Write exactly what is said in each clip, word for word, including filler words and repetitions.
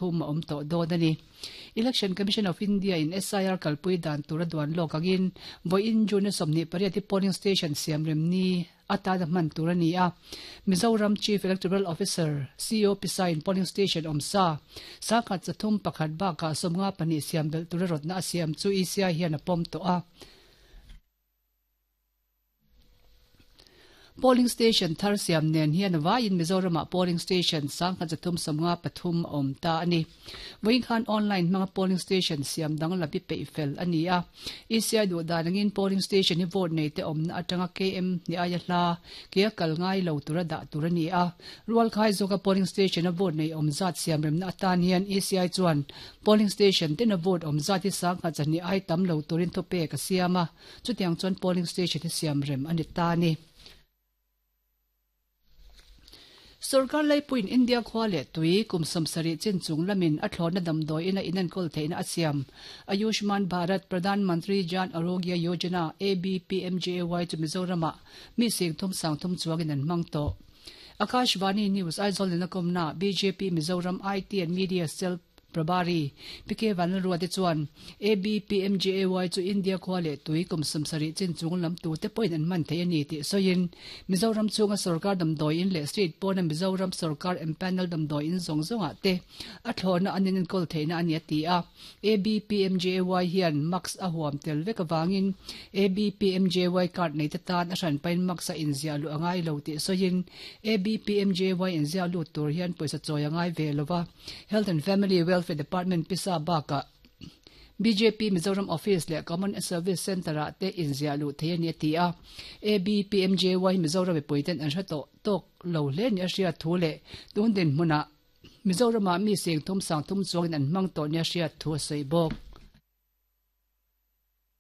Thum a awm tawh dawn a ni. Election Commission of India in S I R kalpui dan tur a duan lawk angin vawiin June sawmhnih pariat hi polling station siam rem ni atana hman tur a ni a. Mizoram Chief Electoral Officer C O Pisain polling station awm sa sangkhat chathum pakhat bakah sawmnga pahnih siam belh tur a rawtna a siam chu E C I hian a pawm tawh a. Polling station thar siam nen hian vaiin Mizoramah polling station sangkhat chathum sawmnga pathum a awm ta a ni. Vawiin khan online hmanga polling station siam dang lam hi peih fel a ni a. E C I duh dan angin polling station hi vote nei te awmna atanga K M ni aia hla ke a kal ngai lo tura dah tur a ni a. Rualkhai zawka polling station a vote nei awm zat siam remna atan hian E C I chuan polling station ten a vote awm zat hi sangkhat chahnih ai tam lo turin thawpek a siam a. Chutiang chuan polling station hi siam rem a ni ta a ni. Sarkar Laipuiin India khua leh tui kum sawmsarih chin chung lamin a thlawhna damdawiin a inenkawl theihna a siam. Ayushman Bharat Pradhan Mantri Jan Arogya Yojana, A B P M J A Y chu Mizoramah mi sing thum sang thum chuangin an hmang tawh. Akashvani News Aizawl in a kawmna B J P Mizoram I T and Media Cell Prabhari P K Vanlalruate chuan A B P M J A Y chu India khua leh tui kum sawmsarih chin chung lam tute pawhin an hman thei a ni tih sawiin Mizoram chunga sarkar damdawiin leh state pawna Mizoram sarkar empanel damdawiin zawng zawngah te a thlawhna an inenkawl theihna a ni a ti a. A B P M J A Y hian mask a huam tel vek avangin A B P M J A Y card nei te tan a hranpain mask a inziah luh a ngai lo tih sawiin A B P M J A Y inziah lut tur hian pawisa chawi a ngai ve lova Health and Family Welfare Department pisa bakah B J P Mizoram Office leh Common Service Centre-ah te inziah luh thei a ni a ti a. A B P M J Y Mizoram mipuiten an hre tawh tawk lo hle ni a hriat thu leh tun dinhmunah Mizoramah mi seng thum sang thum chuangin an hmang tawh nia hriat thu a sawi bawk.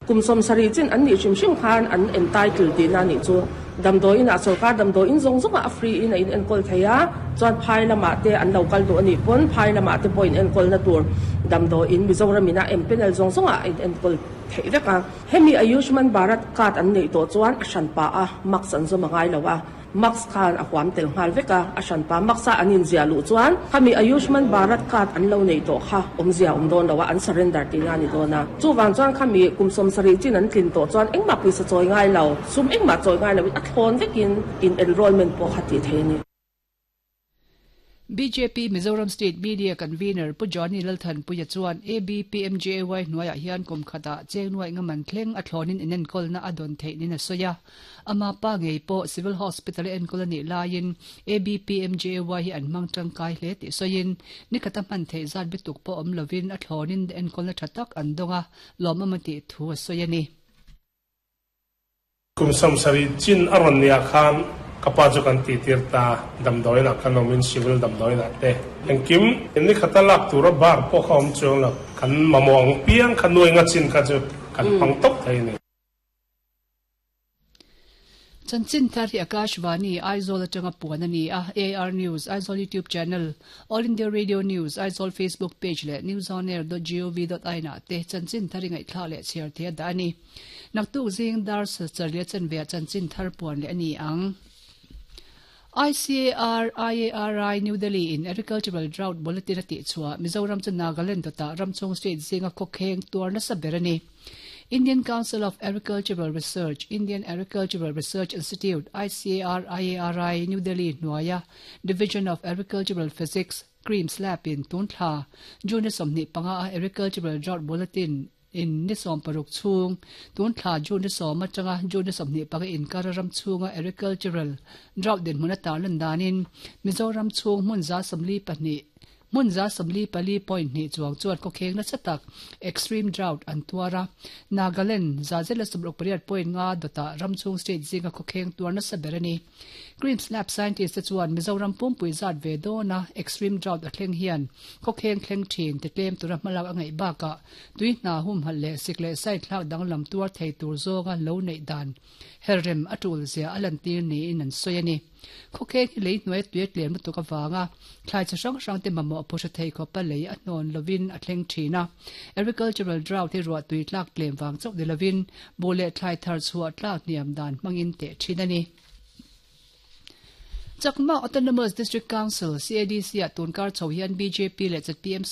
Kum sawmsarih chin an nih hrim hrim khan an entitle tihna nih chu damdawiin ah sarkar damdawiin zawng zawngah a free in a in enkawl thei a, chuan phai lamah te an lo kal duh a nih pawn phai lamah te pawh in enkawlna tur damdawiin Mizoram ina empanel zawng zawngah a in enkawl theih vek a. Hemi Ayushman Bharat card an neih tawh chuan a hranpa a mask an zawm a ngai lo a. Mask khan a huam tel nghal vek a, a hranpa mask a an inziah luh chuan khami Ayushman Bharat card an lo neih tawh kha awmzia awm dawn lo a, an surrender tihna a ni dawn a. Chuvang chuan khami kum sawmsarih chin an tlin tawh chuan engmah pawisa chawi ngai lo, sum engmah chawi ngai loin a thlawn vekin in enrollment pawh kha tih thei a ni. B J P Mizoram State Media Convener Pu Johnny Lalthanpuia chuan A B P M J A Y hnuaiah hian kum khatah chengnuaih ngaman thleng a thlawnin inenkawlna a dawn theih nin a sawi a. Ama pa ngei pawh Civil Hospital a enkawl a nih laiin A B P M J A Y hi an hmang tangkai hle tih sawiin nikhata hman theih zat bituk pawh awm lovin a thlawnin enkawlna tha tak an dawng a, lawmawm a tih thu a sawi a ni. Kum sawmsarih chin a rawn nia khan ka pa chu kan tih tir ta damdawiinah kan awmin civil damdawiinah te engkim nikhata lak tura bar pawh kha awm chuang lo kan mamawh ang piang kha nuai nga chin kha chu kan hmang tawp thei a ni. Chanchin thar hi Akashvani Aizawl atanga puan a ni a, A R News Aizawl YouTube channel, All India Radio News Aizawl Facebook page leh newsonair dot gov dot in ah te chanchin thar i ngaihthlak leh chhiar thei a dah a ni. Naktuk zing dar charia chanve ah chanchin thar puan leh a ni ang. I C A R I A R I New Delhi in Agricultural Drought Bulletin a tih chhuah Mizoram chu Nagaland dawtah ramchhung state zinga khawkheng tuar nasa ber a ni. Indian Council of Agricultural Research, Indian Agricultural Research Institute, I C A R I A R I New Delhi hnuaia Division of Agricultural Physics, CREAMS Lab in tun thla June sawmhnih panga a Agricultural Drought Bulletin in ni sawm paruk chhung tun thla June sawm atanga June sawmhnih panga inkar ram chhunga agricultural drought dinhmun ata lan danin Mizoram chhung hmun za sawmli pahnih hmun za sawmli pali point hnih chuang chuan khawkheng nasa tak extreme drought an tuara Nagaland za zela sawmruk pariat point nga dawtah ram chhung state zinga khawkheng tuar nasa ber a ni. CREAMS Lab scientist te chuan Mizoram pumpui zat ve dawna extreme drought a thleng hian khawkheng thleng thin ti tlem tura hmalak a ngaih bakah tui hna hum halh leh sik leh sai thlak danglam tuar thei tur zawnga lo neih dan herrem a tul zia a lan tir niin an sawi a ni. Khawkheng hi lei hnuai tui a tlem lutuk avanga thlai chi hrang hrang te mamawh phawhra thei khawpa lei a hnawn lovin a thleng thin a. Agricultural drought hi ruah tui tlak tlem vang chauh ni lovin buh leh thlai thar chhuah tlak hniam dan hmangin teh thin a ni. Chakma Autonomous District Council C A D C ah tunkar chho hian B J P leh Z P M